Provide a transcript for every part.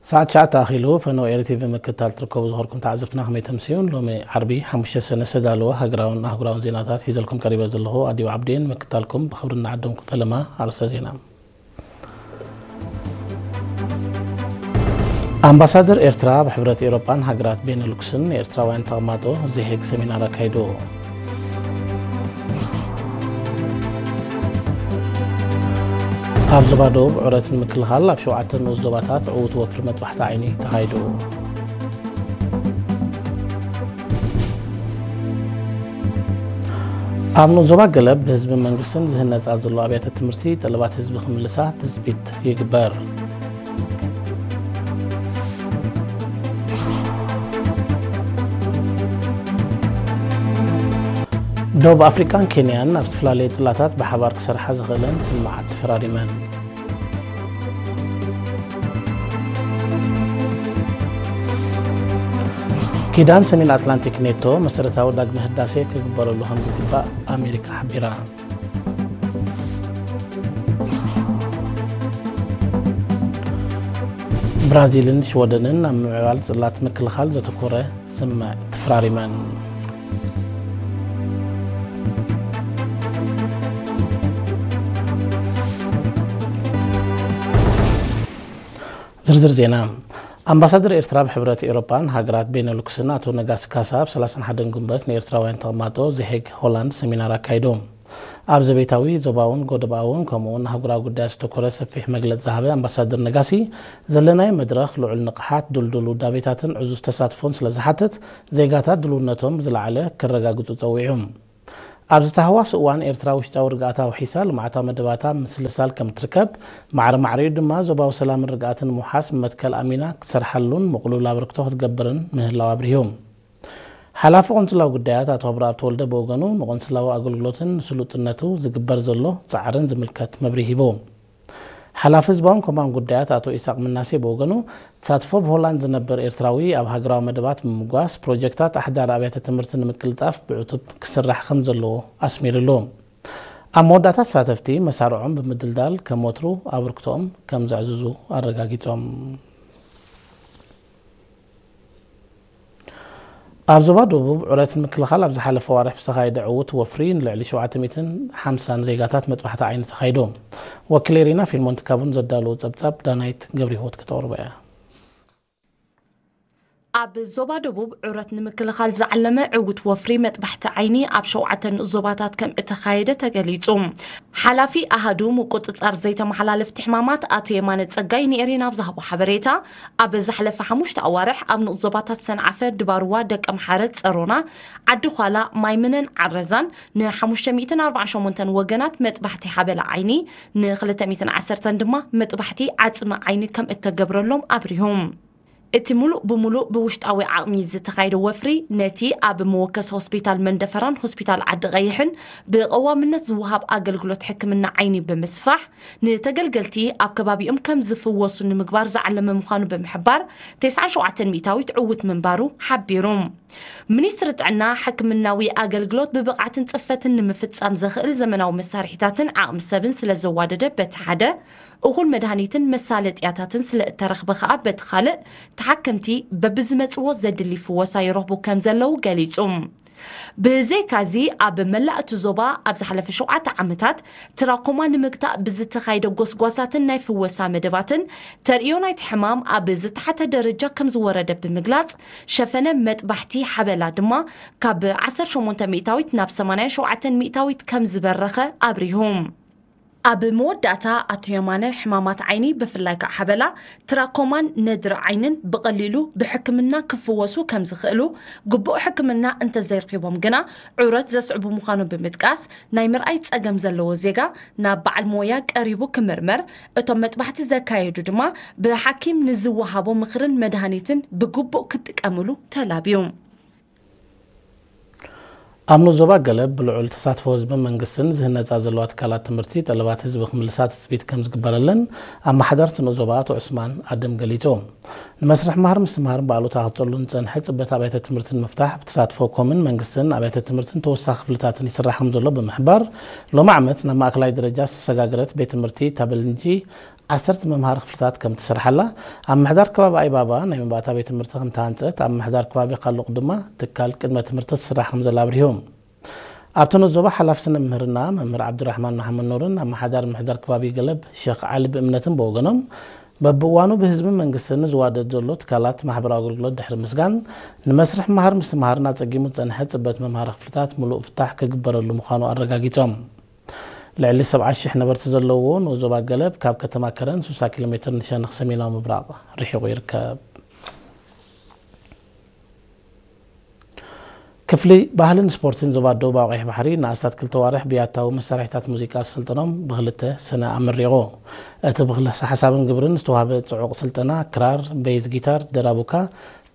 ሰዓት ትሽዓተ ኣኺሉ። ፈነው ኤሪ ቲቪ ምክትታል ትርከቡ ዝኸርኩም ተዓዘብትና ከመይ ተምስዩን? ሎሚ ዓርቢ ሓሙሽተ ሰነ ዝተዳለወ ሃገራውን ኣህጉራውን ዜናታት ሒዘልኩም ቀሪበ ዘለኹ ኣዲው ዓብዴን ምክትታልኩም ብኽብሪ እናዓደምኩም። ፈለማ ኣርእስተ ዜና። ኣምባሳደር ኤርትራ ኣብ ሕብረት ኤውሮጳን ሃገራት ቤነሉክስን ንኤርትራውያን ተቐማጦ ዘሄግ ሰሚናር ኣካይዱ። ኣብ ዞባ ደቡብ ዕረት ንምክልኻል ኣብ ሸውዓተ ንኡስ ዞባታት ዕዉት ወፍሪ መጥባሕቲ ዓይኒ ተኻይዱ። ኣብ ንኡስ ዞባ ገለብ ብህዝብን መንግስትን ዝህነጻ ዘሎ ኣብያተ ትምህርቲ ጠለባት ህዝቢ ክምልሳ ትጽቢት ይግበር። ደቡብ ኣፍሪቃን ኬንያን ኣብ ዝተፈላለየ ጽላታት ብሓባር ክሰርሓ ዝኽእለን ስምምዓት ተፈራሪመን። ኪዳን ሰሜን ኣትላንቲክ ኔቶ መሰረታዊ ዳግመ ህዳሴ ክግበረሉ ከም ዝግባእ ኣሜሪካ ሓቢራ። ብራዚልን ሽወደንን ኣብ ምምዕባል ጽላት ምክልኻል ዘተኮረ ስምምዕ ተፈራሪመን። ዝርዝር ዜና። ኣምባሳደር ኤርትራ ኣብ ሕብረት ኤውሮጳን ሃገራት ቤነሉክስን ኣቶ ነጋሲ ካሳ ኣብ ሰላሳን ሓደን ጉንበት ንኤርትራውያን ተቐማጦ ዘሄግ ሆላንድ ሰሚናር ኣካይዱ። ኣብ ዘቤታዊ፣ ዞባውን ጎደባውን ከምኡውን ኣህጉራዊ ጉዳያት ዘተኮረ ሰፊሕ መግለጺ ዝሃበ ኣምባሳደር ነጋሲ፣ ዘለናዮ መድረኽ ልዑል ንቕሓት፣ ድልዱል ውዳቤታትን ዕዙዝ ተሳትፎን ስለ ዝሓትት፣ ዜጋታት ድልውነቶም ብዝለዓለ ከረጋግጹ ጸዊዑ። ኣብዚ ተሃዋሲ እዋን ኤርትራ ውሽጣዊ ርግኣት ኣውሒሳ ልምዓታዊ መደባታ ምስልሳል ከም እትርከብ፣ ማዕረ ማዕሪኡ ድማ ዞባዊ ሰላምን ርግኣትን ንምውሓስ መትከል ኣሚና ክትሰርሓሉን ምቕሉል ኣበርክቶ ክትገብርን ምህላው ኣብሪሁ። ሓላፊ ቆንስላዊ ጉዳያት ኣቶ ኣብርኣብ ተወልደ ብወገኑ ንቆንስላዊ ኣገልግሎትን ንስሉጥነቱ ዝግበር ዘሎ ጻዕርን ዝምልከት መብርሂ ሂቡ። ሓላፊ ህዝባውን ኮማን ጉዳያት ኣቶ ኢሳቅ ምናሴ ብወገኑ፣ ተሳትፎ ብሆላንድ ዝነብር ኤርትራዊ ኣብ ሃገራዊ መደባት ብምምጓስ፣ ፕሮጀክታት ኣሕዳር ኣብያተ ትምህርቲ ንምቅልጣፍ ብዕቱብ ክስራሕ ከም ዘለዎ ኣስሚርሉ። ኣብ መወዳእታ ተሳተፍቲ መሳርዖም ብምድልዳል ከም ወትሩ ኣበርክቶኦም ከም ዘዕዝዙ ኣረጋጊጾም። ኣብ ዞባ ደቡብ ዕረት ንምክልኻል ኣብ ዝሓለፈ ዋርሕ ዝተኻየደ ዕዉት ወፍሪ ንልዕሊ ሸውዓተ ሚእትን ሓምሳን ዜጋታት መጥባሕቲ ዓይኒ ተኻይዱ። ወኪለይ ሪና ፊልሞን ትካቡን ዘዳለዎ ጸብጻብ ዳናይት ገብረህይወት ከተቕርቦ እያ። ኣብ ዞባ ደቡብ ዕረት ንምክልኻል ዝዓለመ ዕዉት ወፍሪ መጥባሕቲ ዓይኒ ኣብ ሸውዓተ ንኡስ ዞባታት ከም እተኻየደ ተገሊጹ። ሓላፊ ኣሃዱ ምቁጽጻር ዘይተመሓላለፍቲ ሕማማት ኣቶ የማነ ጸጋይ ንኤሪና ኣብ ዝሃቦ ሓበሬታ፣ ኣብ ዝሓለፈ ሓሙሽተ ኣዋርሕ ኣብ ንኡስ ዞባታት ሰንዓፈ፣ ድባርዋ፣ ደቀምሓረ፣ ጸሮና፣ ዓዲ ዃላ፣ ማይምነን ዓረዛን ንሓሙሽተ ሚእትን ኣርባዓን ሸሞንተን ወገናት መጥባሕቲ ሓበላ ዓይኒ፣ ንክልተ ሚእትን ዓሰርተን ድማ መጥባሕቲ ዓጽሚ ዓይኒ ከም እተገብረሎም ኣብሪሁ። እቲ ምሉእ ብምሉእ ብውሽጣዊ ዓቕሚ ዝተኻየደ ወፍሪ፣ ነቲ ኣብ መወከሲ ሆስፒታል መንደፈራን ሆስፒታል ዓዲ ቀይሕን ብቐዋምነት ዝወሃብ ኣገልግሎት ሕክምና ዓይኒ ብምስፋሕ፣ ንተገልገልቲ ኣብ ከባቢኦም ከም ዝፍወሱ ንምግባር ዝዓለመ ምዃኑ ብምሕባር፣ ተስዓን ሸውዓተን ሚእታዊት ዕዉት ምንባሩ ሓቢሩ። ሚኒስትሪ ጥዕና፣ ሕክምናዊ ኣገልግሎት ብብቕዓትን ጽፈትን ንምፍጻም ዘኽእል ዘመናዊ መሳርሒታትን ዓቕሚ ሰብን ስለ ዘዋደደ በቲ ሓደ፣ እኹል መድሃኒትን መሳለጥያታትን ስለ እተረኽበ ከኣ በቲ ካልእ፣ ተሓከምቲ በብዝመጽዎ ዘድሊ ፍወሳ ይረኽቡ ከም ዘለዉ ገሊጹ። ብዘይካዚ፣ ኣብ መላእ እቲ ዞባ ኣብ ዝሓለፈ ሸውዓተ ዓመታት ትራኮማ ንምግታእ ብዝተኻየደ ጎስጓሳትን ናይ ፍወሳ መደባትን፣ ተርእዮ ናይቲ ሕማም ኣብ ዝተሓተ ደረጃ ከም ዝወረደ ብምግላጽ፣ ሸፈነ መጥባሕቲ ሓበላ ድማ ካብ ዓሰርተ ሸሞንተ ሚእታዊት ናብ ሰማንያን ሸውዓተን ሚእታዊት ከም ዝበረኸ ኣብሪሁ። ኣብ መወዳእታ ኣቶ የማነ፣ ሕማማት ዓይኒ ብፍላይ ከዓ ሓበላ፣ ትራኮማን ነድሪ ዓይንን ብቐሊሉ ብሕክምና ክፍወሱ ከም ዝኽእሉ፣ ግቡእ ሕክምና እንተዘይረኺቦም ግና ዑረት ዘስዕቡ ምዃኑ ብምጥቃስ፣ ናይ ምርኣይ ጸገም ዘለዎ ዜጋ ናብ በዓል ሞያ ቀሪቡ ክምርመር፣ እቶም መጥባሕቲ ዘካየዱ ድማ ብሓኪም ንዝወሃቦ ምኽርን መድሃኒትን ብግቡእ ክጥቀምሉ ተላብዩ። ኣብ ንኡስ ዞባ ገለብ ብልዑል ተሳትፎ ህዝብን መንግስትን ዝህነጻ ዘለዋ ትካላት ትምህርቲ ጠለባት ህዝቢ ክምልሳ ትጽቢት ከም ዝግበረለን ኣመሓዳርቲ ንኡስ ዞባ ኣቶ ዑስማን ኣደም ገሊጹ። ንመስርሕ ምሃር ምስትምሃርን ብኣሉታ ክጸሉ ዝጸንሐ ጽበት ኣብያተ ትምህርቲ ንምፍታሕ ብተሳትፎ ኮምን መንግስትን ኣብያተ ትምህርትን ተወሳኺ ክፍልታትን ይስራሕ ከም ዘሎ ብምሕባር፣ ሎሚ ዓመት ናብ ማእከላይ ደረጃ ዝተሰጋገረት ቤት ትምህርቲ ታበልንጂ ዓሰርተ መምሃሪ ክፍልታት ከም ትስርሓላ፣ ኣብ ምሕዳር ከባቢ ኣይባባ ናይ መባእታ ቤት ትምህርቲ ከም ተሃንጸት፣ ኣብ ምሕዳር ከባቢ ካሉቕ ድማ ትካል ቅድመ ትምህርቲ ትስራሕ ከም ዘላ ኣብሪሆም። ኣብቲ ንኡስ ዞባ ሓላፊ ስነ ምህርና መምህር ዓብዱራሕማን መሓመድ ኑርን ኣመሓዳሪ ምሕዳር ከባቢ ገለብ ሸኽ ዓሊ ብእምነትን ብወገኖም፣ በብእዋኑ ብህዝብን መንግስትን ዝዋደድ ዘሎ ትካላት ማሕበራዊ ኣገልግሎት ድሕሪ ምስጋን፣ ንመስርሕ መሃር ምስትምሃርን ኣጸጊሙ ዝጸንሐ ጽበት መምሃሪ ክፍልታት ምሉእ ፍታሕ ክግበረሉ ምዃኑ ኣረጋጊጾም። ልዕሊ ሰብዓ ሽሕ ነበርቲ ዘለዎ ንኡስ ዞባ ገለብ ካብ ከተማ ከረን ስሳ ኪሎ ሜትር ንሸነኽ ሰሜናዊ ምብራቕ ርሒቑ ይርከብ። ክፍሊ ባህልን ስፖርትን ዞባ ደቡብ ኣውቂሕ ባሕሪ ንኣስታት ክልተ ዋርሕ ብያታዊ መሳርሒታት ሙዚቃ ስልጠኖም ብክልተ ሰነ ኣመሪቑ። እቲ ብክልሰ ሓሳብን ግብርን ዝተዋህበ ጽዑቕ ስልጠና ክራር፣ ቤዝ ጊታር፣ ደራቡካ፣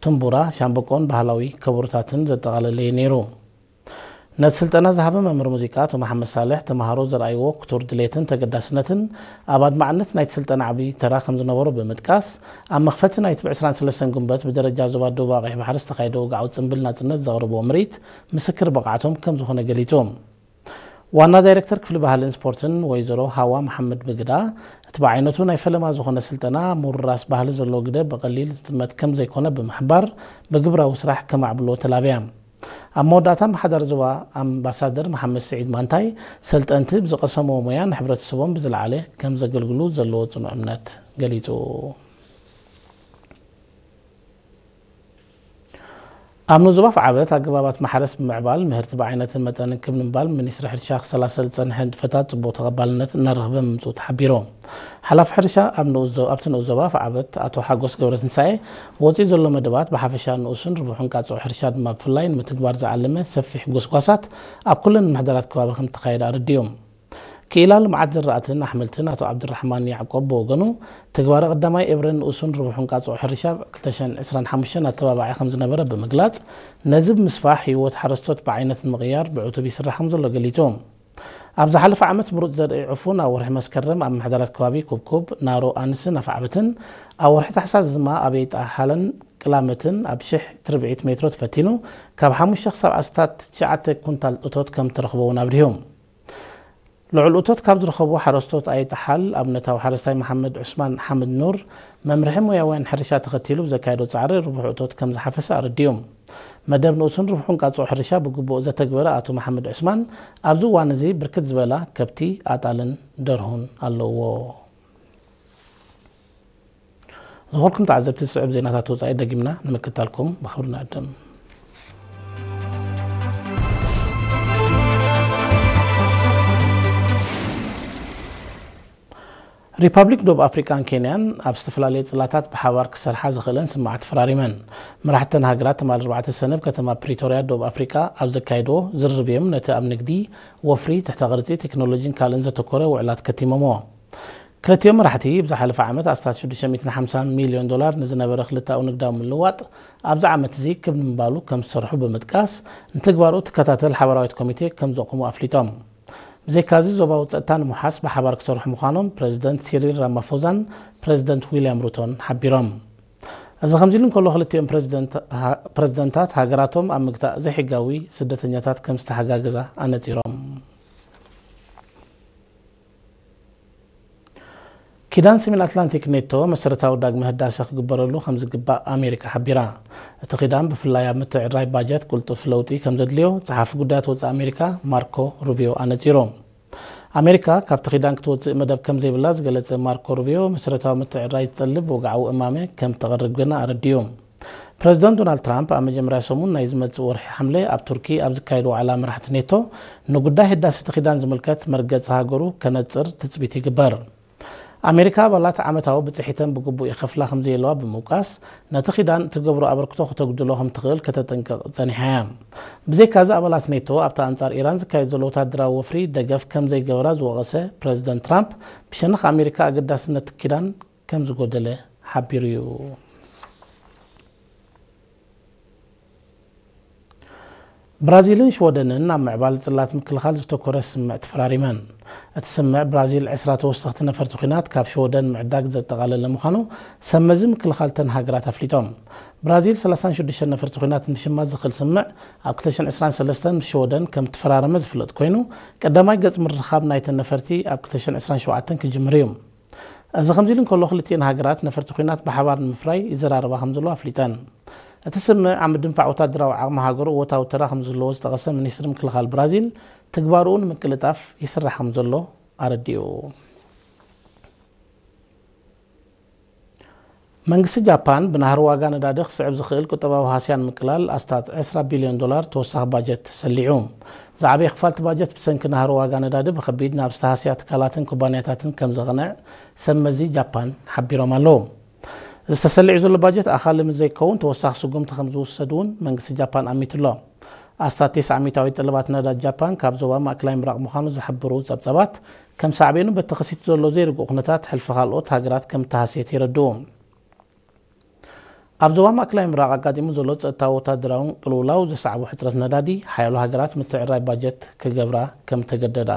ትንቡራ፣ ሻምበቆን ባህላዊ ከበሮታትን ዘጠቓለለ እዩ ነይሩ። ነቲ ስልጠና ዝሃበ መምህር ሙዚቃ ኣቶ መሓመድ ሳልሕ፣ ተምሃሮ ዘርኣይዎ ክቱር ድሌትን ተገዳስነትን ኣብ ኣድማዕነት ናይቲ ስልጠና ዓቢ ተራ ከም ዝነበሮ ብምጥቃስ፣ ኣብ መኽፈቲ ናይቲ ብ ዕስራን ሰለስተን ጉንበት ብደረጃ ዞባ ደቡብ ኣቕይሕ ባሕሪ ዝተኻየደ ወግዓዊ ጽምብል ናጽነት ዘቕረብዎ ምርኢት ምስክር ብቕዓቶም ከም ዝኾነ ገሊጹ። ዋና ዳይሬክተር ክፍሊ ባህልን ስፖርትን ወይዘሮ ሃዋ መሓመድ ብግዳ፣ እቲ ብዓይነቱ ናይ ፈለማ ዝኾነ ስልጠና ምውርራስ ባህሊ ዘለዎ ግደ ብቐሊል ዝጥመት ከም ዘይኮነ ብምሕባር፣ ብግብራዊ ስራሕ ከማዕብሎ ተላብያ። ኣብ መወዳእታ ኣመሓዳሪ ዞባ ኣምባሳደር መሓመድ ስዒድ ማንታይ፣ ሰልጠንቲ ብዝቐሰምዎ ሞያ ንሕብረተሰቦም ብዝለዓለ ከም ዘገልግሉ ዘለዎ ጽኑዕ እምነት ገሊጹ። ኣብ ንኡስ ዞባ ኣፍዓበት ኣገባባት ማሕረስ ብምዕባል ምህርቲ ብዓይነትን መጠንን ክብ ንምባል ሚኒስትሪ ሕርሻ ክሰላሰል ዝጸንሐ ንጥፈታት ጽቡቕ ተቐባልነት እናረኽበ ምምጽኡ ተሓቢሩ። ሓላፊ ሕርሻ ኣብ ንኡስ ዞ-፣ ኣብቲ ንኡስ ዞባ ኣፍዓበት ኣቶ ሓጎስ ገብረትንሳኤ፣ ወጺኡ ዘሎ መደባት ብሓፈሻ ንኡስን ርቡሕን ቃጽዖ ሕርሻ ድማ ብፍላይ ንምትግባር ዝዓለመ ሰፊሕ ጎስጓሳት ኣብ ኩለን ምምሕዳራት ከባቢ ከም ዝተኻየደ ኣረዲኡ። ክኢላ ልምዓት ዝራእትን ኣሕምልትን ኣቶ ዓብዱራሕማን ያዕቆብ ብወገኑ፣ ትግባረ ቀዳማይ ኤብረ ንኡስን ርቡሕን ቃጽዖ ሕርሻ ኣብ ክልተ ሽሕን ዕስራን ሓሙሽተን ኣተባባዒ ከም ዝነበረ ብምግላጽ፣ ነዚ ብምስፋሕ ህይወት ሓረስቶት ብዓይነት ንምቕያር ብዕቱብ ይስራሕ ከም ዘሎ ገሊጹ። ኣብ ዝሓለፈ ዓመት ምሩጽ ዘርኢ ዕፉን ኣብ ወርሒ መስከረም ኣብ ምሕደራት ከባቢ ኩብኩብ፣ ናሮ ኣንስን ኣፍዓበትን፣ ኣብ ወርሒ ታሕሳስ ድማ ኣብ የይጣሓለን ቅላመትን ኣብ ሽሕ ትርብዒት ሜትሮ ተፈቲኑ፣ ካብ ሓሙሽተ ክሳብ ኣስታት ትሽዓተ ኩንታል እቶት ከም እተረኽበ እውን ኣብሪሁ። ልዑል እቶት ካብ ዝረኸቡ ሓረስቶት ኣይጠሓል ኣብነታዊ ሓረስታይ መሓመድ ዑስማን ሓምድ ኑር፣ መምርሒ ሞያውያን ሕርሻ ተኸቲሉ ብዘካየዶ ጻዕሪ ርቡሕ እቶት ከም ዝሓፈሰ ኣረዲኡ። መደብ ንኡስን ርቡሕን ቃጽኦ ሕርሻ ብግቡእ ዘተግበረ ኣቶ መሓመድ ዑስማን፣ ኣብዚ እዋን እዚ ብርክት ዝበላ ከብቲ፣ ኣጣልን ደርሁን ኣለዎ። ዝኾርኩም ተዓዘብቲ፣ ዝስዕብ ዜናታት ወጻኢ ደጊምና ንምክታልኩም ብኽብሪ ንዕድም። ሪፓብሊክ ደቡብ ኣፍሪቃን ኬንያን ኣብ ዝተፈላለየ ጽላታት ብሓባር ክሰርሓ ዝኽእለን ስምምዓት ተፈራሪመን። መራሕተን ሃገራት ትማሊ ኣርባዕተ ሰነ ኣብ ከተማ ፕሪቶርያ ደቡብ ኣፍሪቃ ኣብ ዘካየድዎ ዝርርብ እዮም ነቲ ኣብ ንግዲ፣ ወፍሪ፣ ትሕተ ቅርጺ፣ ቴክኖሎጂን ካልእን ዘተኮረ ውዕላት ከቲሞምዎ። ክልቲኦም መራሕቲ፣ ብዝሓለፈ ዓመት ኣስታት ሽዱሽተ ሚእትን ሓምሳን ሚልዮን ዶላር ንዝነበረ ክልተኣዊ ንግዳዊ ምልውዋጥ፣ ኣብዚ ዓመት እዚ ክብ ንምባሉ ከም ዝሰርሑ ብምጥቃስ፣ ንትግባርኡ ትከታተል ሓባራዊት ኮሚቴ ከም ዘቑሙ ኣፍሊጦም። ብዘይካዚ፣ ዞባዊ ጸጥታ ንምውሓስ ብሓባር ክሰርሑ ምዃኖም ፕረዚደንት ሲሪል ራማፎዛን ፕረዚደንት ዊልያም ሩቶን ሓቢሮም። እዚ ከምዚ ኢሉ እንከሎ፣ ክልቲኦም ፕረዚደንት-፣ ሃ-፣ ፕረዚደንታት ሃገራቶም ኣብ ምግታእ ዘይሕጋዊ ስደተኛታት ከም ዝተሓጋገዛ ኣነጺሮም። ኪዳን ሰሜን ኣትላንቲክ ኔቶ መሰረታዊ ዳግመ ህዳሰ ክግበረሉ ከም ዝግባእ ኣሜሪካ ሓቢራ። እቲ ኪዳን ብፍላይ ኣብ ምትዕርራይ ባጀት ቅልጡፍ ለውጢ ከም ዘድልዮ ጸሓፊ ጉዳያት ወጻኢ ኣሜሪካ ማርኮ ሩቢዮ ኣነጺሩ። ኣሜሪካ ካብቲ ኪዳን ክትወጽእ መደብ ከም ዘይብላ ዝገለጸ ማርኮ ሩቢዮ፣ መሰረታዊ ምትዕርራይ ዝጠልብ ወግዓዊ እማመ ከም እተቕርብ ግና ኣረዲኡ። ፕረዚደንት ዶናልድ ትራምፕ ኣብ መጀመርያ ሰሙን ናይ ዝመጽእ ወርሒ ሓምለ ኣብ ቱርኪ ኣብ ዝካየድ ዋዕላ መራሕቲ ኔቶ ንጉዳይ ህዳሰ እቲ ኪዳን ዝምልከት መርገጺ ሃገሩ ከነጽር ትጽቢት ይግበር። ኣሜሪካ ኣባላት ዓመታዊ ብጽሒተን ብግቡእ ይኸፍላ ከም ዘየለዋ ብምውቃስ፣ ነቲ ኪዳን እትገብሮ ኣበርክቶ ከተጉድሎ ከም ትኽእል ከተጠንቅቕ ጸኒሓ እያ። ብዘይካዚ ኣባላት ኔቶ ኣብቲ ኣንጻር ኢራን ዝካየድ ዘሎ ወታደራዊ ወፍሪ ደገፍ ከም ዘይገበራ ዝወቐሰ ፕረዚደንት ትራምፕ፣ ብሸነኽ ኣሜሪካ ኣገዳስነት ኪዳን ከም ዝጎደለ ሓቢሩ እዩ። ብራዚልን ሽወደንን ኣብ ምዕባል ጽላት ምክልኻል ዝተኮረ ስምምዕ ተፈራሪመን። እቲ ስምምዕ ብራዚል ዕስራ ተወሰኽቲ ነፈርቲ ኲናት ካብ ሽወደን ምዕዳግ ዘጠቓለለ ምዃኑ ሰመዚ ምክልኻል እተን ሃገራት ኣፍሊጦም። ብራዚል ሰላሳን ሽዱሽተን ነፈርቲ ኲናት ንምሽማት ዝኽእል ስምምዕ ኣብ ክልተ ሽሕን ዕስራን ሰለስተን ምስ ሽወደን ከም እተፈራረመ ዝፍለጥ ኮይኑ፣ ቀዳማይ ገጽ ምርኻብ ናይተን ነፈርቲ ኣብ ክልተ ሽሕን ዕስራን ሸውዓተን ክጅምር እዩ። እዚ ከምዚ ኢሉ እንከሎ፣ ክልቲኤን ሃገራት ነፈርቲ ኲናት ብሓባር ንምፍራይ ይዘራረባ ከም ዘለዋ ኣፍሊጠን። እቲ ስምምዕ ኣብ ምድንፋዕ ወታደራዊ ዓቕሚ ሃገሩ እወታዊ ተራ ከም ዝህልዎ ዝጠቐሰ ሚኒስትሪ ምክልኻል ብራዚል፣ ትግባርኡ ንምቅልጣፍ ይስራሕ ከም ዘሎ ኣረዲኡ። መንግስቲ ጃፓን ብናህሪ ዋጋ ነዳዲ ክስዕብ ዝኽእል ቁጠባዊ ሃስያ ንምቅላል ኣስታት ዕስራ ቢልዮን ዶላር ተወሳኺ ባጀት ሰሊዑ። ዝዓበየ ክፋል እቲ ባጀት ብሰንኪ ናህሪ ዋጋ ነዳዲ ብኸቢድ ናብ ዝተሃስያ ትካላትን ኩባንያታትን ከም ዘቕንዕ ሰብ መዚ ጃፓን ሓቢሮም ኣለዉ። እዚ ተሰሊዑ ዘሎ ባጀት ኣኻሊ ምስ ዘይከውን ተወሳኺ ስጉምቲ ከም ዝውሰድ እውን መንግስቲ ጃፓን ኣሚቱ ኣሎ። ኣስታት ተስዓ ሚእታዊት ጠለባት ነዳዲ ጃፓን ካብ ዞባ ማእከላይ ምብራቕ ምዃኑ ዝሕብሩ ጸብጸባት፣ ከም ሳዕቤኑ በቲ ክሲት ዘሎ ዘይርጉእ ኩነታት ሕልፊ ካልኦት ሃገራት ከም እተሃስየት የረድኡ። ኣብ ዞባ ማእከላይ ምብራቕ ኣጋጢሙ ዘሎ ጸጥታዊ ወታደራውን ቅልውላው ዘስዓቦ ሕጽረት ነዳዲ፣ ሓያሎ ሃገራት ምትዕርራይ ባጀት ክገብራ ከም እተገደዳ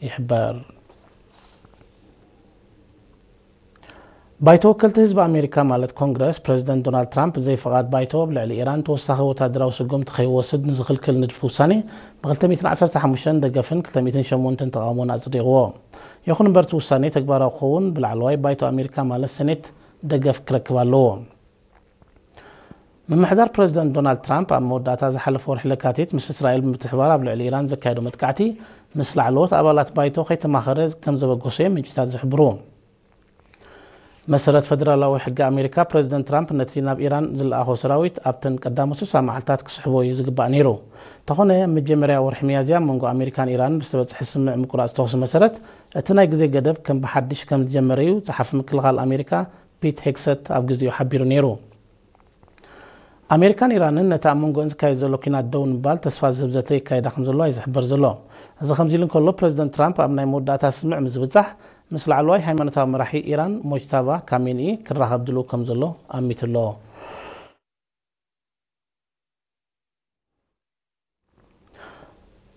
ይሕበር። ባይቶ ወከልቲ ህዝቢ ኣሜሪካ ማለት ኮንግረስ፣ ፕረዚደንት ዶናልድ ትራምፕ ብዘይ ፍቓድ ባይቶ ኣብ ልዕሊ ኢራን ተወሳኺ ወታደራዊ ስጉምቲ ከይወስድ ንዝኽልክል ንድፊ ውሳኔ ብ ክልተ ሚእትን ዓሰርተ ሓሙሽተን ደገፍን ክልተ ሚእትን ሸሞንተን ተቓውሞን ኣጽዲቕዎ። ይኹን እምበር እቲ ውሳኔ ተግባራዊ ክኸውን ብላዕለዋይ ባይቶ ኣሜሪካ ማለት ሰኔት ደገፍ ክረክብ ኣለዎ። ምምሕዳር ፕረዚደንት ዶናልድ ትራምፕ ኣብ መወዳእታ ዝሓለፈ ወርሒ ለካቲት ምስ እስራኤል ብምትሕባር ኣብ ልዕሊ ኢራን ዘካየዶ መጥቃዕቲ ምስ ላዕለዎት ኣባላት ባይቶ ከይተማኸረ ከም ዘበገሶ እዮም ምንጭታት ዝሕብሩ። መሰረት ፈደራላዊ ሕጊ ኣሜሪካ፣ ፕረዚደንት ትራምፕ ነቲ ናብ ኢራን ዝለኣኾ ሰራዊት ኣብተን ቀዳሞት ስሳ መዓልታት ክስሕቦ እዩ ዝግባእ ነይሩ። እንተኾነ፣ ኣብ መጀመርያ ወርሒ ሚያዝያ ኣብ መንጎ ኣሜሪካን ኢራንን ብዝተበጽሐ ስምምዕ ምቁራጽ ተኹሲ መሰረት፣ እቲ ናይ ግዜ ገደብ ከም ብሓድሽ ከም ዝጀመረ እዩ ጸሓፊ ምክልኻል ኣሜሪካ ፒት ሄግሰት ኣብ ግዜኡ ሓቢሩ ነይሩ። ኣሜሪካን ኢራንን ነቲ ኣብ መንጎአን ዝካየድ ዘሎ ኲናት ደው ንምባል ተስፋ ዝህብ ዘተ ይካየዳ ከም ዘለዋ እዩ ዝሕበር ዘሎ። እዚ ከምዚ ኢሉ እንከሎ፣ ፕረዚደንት ትራምፕ ኣብ ናይ መወዳእታ ስምምዕ ምስ ዝብጻሕ፣ ምስ ላዕለዋይ ሃይማኖታዊ መራሒ ኢራን ሞጅታባ ካሜኒኢ ክራኸብ ድልው ከም ዘሎ ኣሚቱ ኣሎ።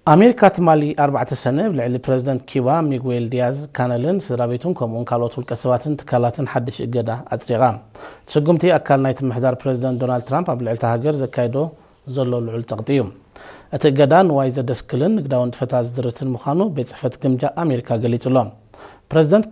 ኣሜሪካ ትማሊ ኣርባዕተ ሰነ ኣብ ልዕሊ ፕረዚደንት ኪባ ሚጉዌል ዲያዝ ካነልን ስድራ ቤቱን ከምኡውን ካልኦት ውልቀ ሰባትን ትካላትን ሓድሽ እገዳ ኣጽዲቓ። እቲ ስጉምቲ ኣካል ናይቲ ምሕዳር ፕረዚደንት ዶናልድ ትራምፕ ኣብ ልዕሊ እታ ሃገር ዘካይዶ ዘሎ ልዑል ጸቕጢ እዩ። እቲ እገዳ ንዋይ ዘደስክልን ንግዳዊ ንጥፈታት ዝድርትን ምዃኑ ቤት ጽሕፈት ግምጃ ኣሜሪካ ገሊጹ ኣሎ። ፕረዚደንት